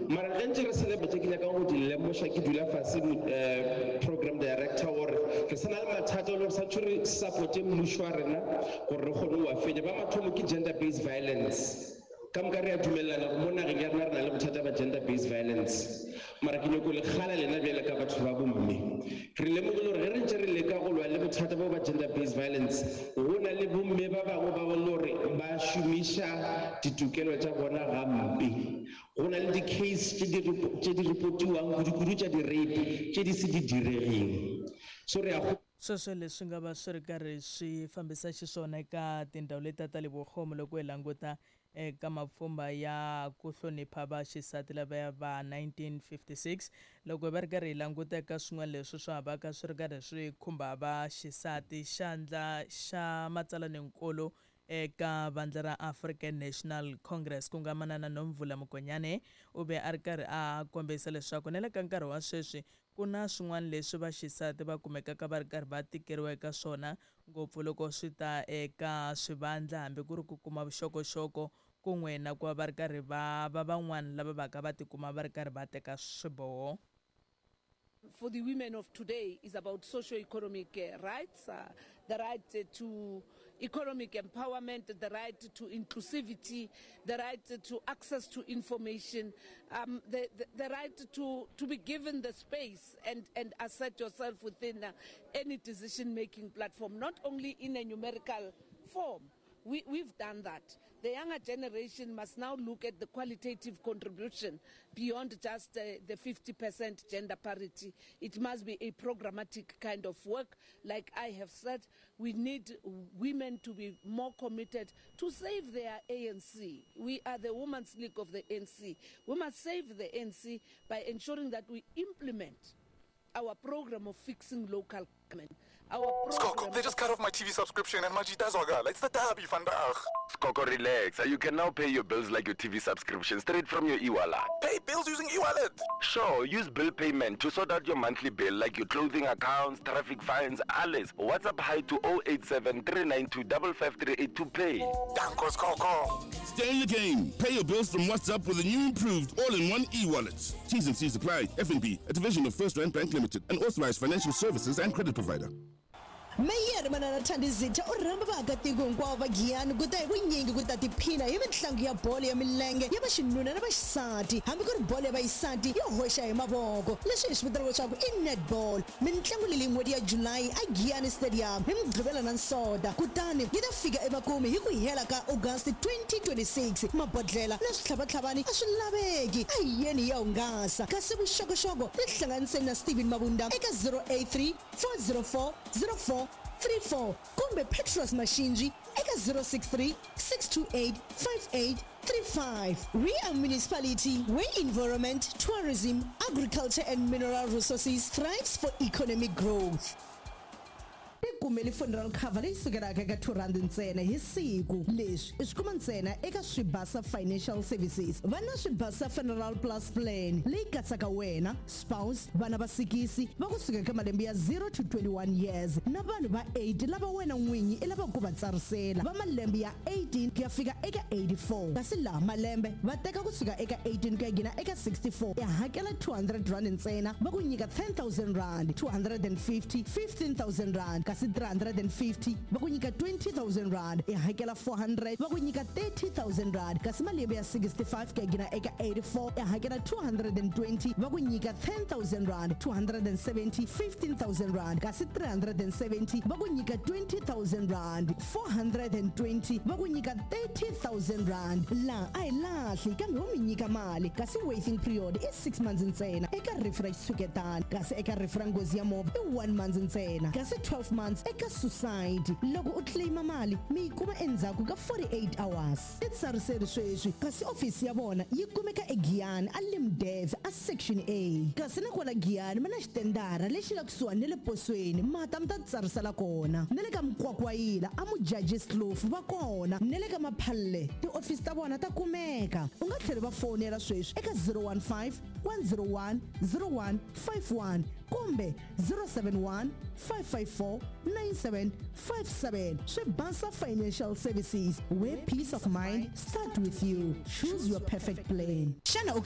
Mara ge ntše re sa le tše ke nyakang go di lemoša ke dula fase program director gore re sa na le mathata e le gore santšwe re supporte mmušo wa rena gore re kgone go a fenya. Ba mathomo ke gender based violence. Ka moka re a dumelelana gore mo nageng ya rena re na le bothata ba gender based violence. Mara ke nyoko le kgala lena bjale ka batho ba bomme. Re lemogile gore ge re ntše re leka go lwa le bothata bo ba gender based violence, go na le bomme ba bangwe ba bo le gore ba šomiša ditokelo tša bona gampe. Go na le di case tše di tše di repotiwang kudu-kudu tša di rape tše di se di diregeng. So re a. Sweswo leswi nga va swi ri karhi swi fambisa xiswona eka tindhawu letiya ta le Vukhomu loko hi languta eka mapfhumba ya ku hlonipha va xisati lavaya va 1956. Loko hi va ri karhi hi languta eka swin'wana leswi swa ha vaka swi ri karhi swi khumba va xisati, xandla xa matsalaninkulu eka vandla ra African National Congress ku nga Manana Nomvula Mokonyane u ve a ri karhi a kombisa leswaku na le ka nkarhi wa sweswi Ku na swin'wana leswi vaxisati va kumekaka va ri karhi va tikeriwa eka swona, ngopfu loko swi ta eka swivandla hambi ku ri ku kuma vuxokoxoko kun'we na ku va va ri karhi va va van'wana lava vaka va tikuma va ri karhi va teka swiboho. For the women of today is about socio-economic rights, the right to economic empowerment, the right to inclusivity, the right to access to information, the, the, the right to, to be given the space and, and assert yourself within any decision-making platform, not only in a numerical form. We, we've done that. The younger generation must now look at the qualitative contribution beyond just the 50% gender parity. It must be a programmatic kind of work. Like I have said, we need women to be more committed to save their ANC. We are the Women's League of the ANC. We must save the ANC by ensuring that we implement our program of fixing local government. Our Skoko, they just cut off my TV subscription and Majita Zwagala. It's the derby vandaag. Skoko, relax. You can now pay your bills like your TV subscription straight from your e-wallet. Pay bills using e-wallet? Sure, use bill payment to sort out your monthly bill like your clothing accounts, traffic fines, alles. WhatsApp hi to 087 392 5538 to pay. Danko Skoko. Stay in the game. Pay your bills from WhatsApp with a new improved all-in-one e-wallet. T's and C's apply. FNB, a division of FirstRand Bank Limited, an authorized financial services and credit provider. Meyara Manana Thandi Zitha u rhamba vaakatiko hinkwavo va Giyani ku ta hi vunyingi ku ta tiphina hi mitlangu ya bolo ya milenge ya vaxinuna na vaxisati hambi ku ri bolo ya vaxisati yo hoxa hi mavoko leswi hi swi vitanaka leswaku i netball. Mintlangu leyi n'hweti ya July a Giyani Stadium hi Mugqivela na Nsonta kutani yi ta fika emakumu hi ku hela ka August 2026. Mabodlhela na switlhavatlhavani a swi laveki, a hi yeni hi ya hungasa. Kasi vuxokoxoko tihlanganiseni na Steven Mabunda eka 083 404 0434 kumbe Petros Mashinji eka 063 628 5835. We are municipality where environment, tourism, agriculture and mineral resources thrives for economic growth. Tikumeli funeral cover leyi sukelaka eka R2 ntsena hi siku. Leswi i swi kuma ntsena eka Swibasa Financial Services. Va na Swibasa Funeral Plus Plan leyi katsaka wena, spouse, vana va sikisi va ku suka eka malembe ya 0 to 21 years na vanhu va 8 lava wena n'winyi i lavaka ku va tsarisela va malembe ya 18 ku ya fika eka 84. Kasi laha malembe va teka ku suka eka 18 ku ya gina eka 64 i hakela R200 ntsena va ku nyika R10,000, 250, R15,000 kasi 350 va ku nyika R20,000, i hakela 400 va ku nyika R30,000 kasi malembe ya 65 ku ya gina eka 84 i hakela 220 va ku nyika R10,000, 270, R15,000 kasi 370 va ku nyika R20,000, 420 va ku nyika R30,000. Laha a hi lahli kambe ho mi nyika mali kasi waiting period i 6 months ntsena eka rifu ra xitshuketana kasi eka rifu ra nghozi ya movha i 1 month ntsena kasi 12 months eka suicide. Loko u claim mali mi yi kuma endzhaku ka 48 hours. Titsariseri sweswi kasi ofisi ya vona yi kumeka eGiyani a Limdev a Section A. Kasi na kwala Giyani va na xitendara lexi nga kusuhani ni le posweni ma ta mi ta titsarisela kona. Na le ka Mukwakwayila a Mudjadjiskloof va kona na le ka Maphalle tiofisi ta vona ta kumeka. U nga tlhela u va fowunela sweswi eka 015 101 0151 kumbe 071 554 9757. Swibasa Financial Services, where peace of mind start with you. Choose your perfect plan. Xana u